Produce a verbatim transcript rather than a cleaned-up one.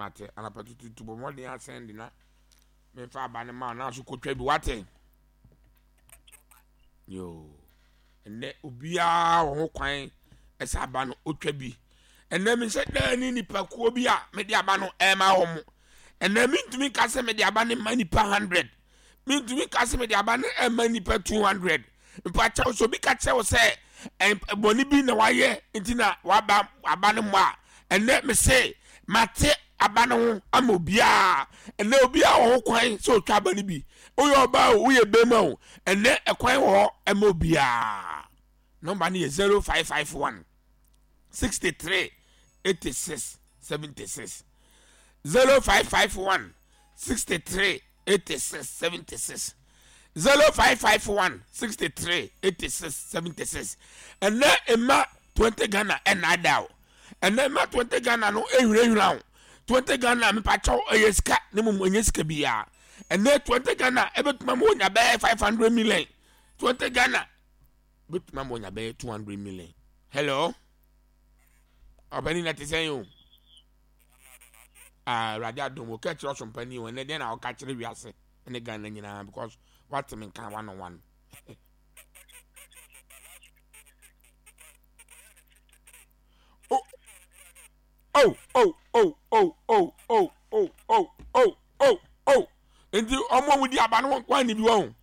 Mate, anapa tututu bɔ mmɔden asɛn de na memfa aba no ma na so kɔtwa bi, wate? Yo, ɛnɛ obiara wɔ ho kwan ɛsɛ aba no otwa bi. Ɛnɛ mehyɛ daa ne nipakuo bi a mede aba no ɛma wɔn mo. Ɛnɛ mentumi nka sɛ mede aba no ma nipa hundred, mentumi nka sɛ mede aba no ɛma nipa two hundred. Mpakyɛw, so obi ka kyerɛ wo sɛ bɔne bi na wayɛ nti na waba aba no mmɔ a, ɛnɛ mese mate aba no ho ama obiara. Ɛnɛ obiara wɔ ho kwan sɛ otwa aba no bi. Woyɛ ɔbaa o, woyɛ bɛrima o, ɛnɛ ɛkwan wɔ hɔ ɛma obiara. Nɔmba no yɛ zero five five one sixty three eighty six seventy six, zero five five one sixty three eighty six seventy six, zero five five one sixty three eighty six seventy six. Ɛnɛ mma twenty Ghana ɛna ada o. Ɛnɛ mma twenty Ghana no ehwirehwira o. Twenty Ghana, mipakyɛw, ɛyɛ sika ne mu, ɛnyɛ sika biara. Ɛnɛ twenty Ghana ɛbɛtuma mu onya bɛyɛ five hundred million. Twenty Ghana bɛtuma mu onya bɛyɛ two hundred million. Hello, ɔbɛni na te sɛn o? Aa, Awurade adom o. Kɛkyerɛ ɔsompani o. Ɛnɛ deɛ na ɔka kyerɛ wiase ɛne Ghana nyinaa because wate me nka one on one. Oh oh oh oh oh oh oh oh oh oh oh! Nti ɔmo a wɔdi aba no wɔn kwan ni bi wɔn.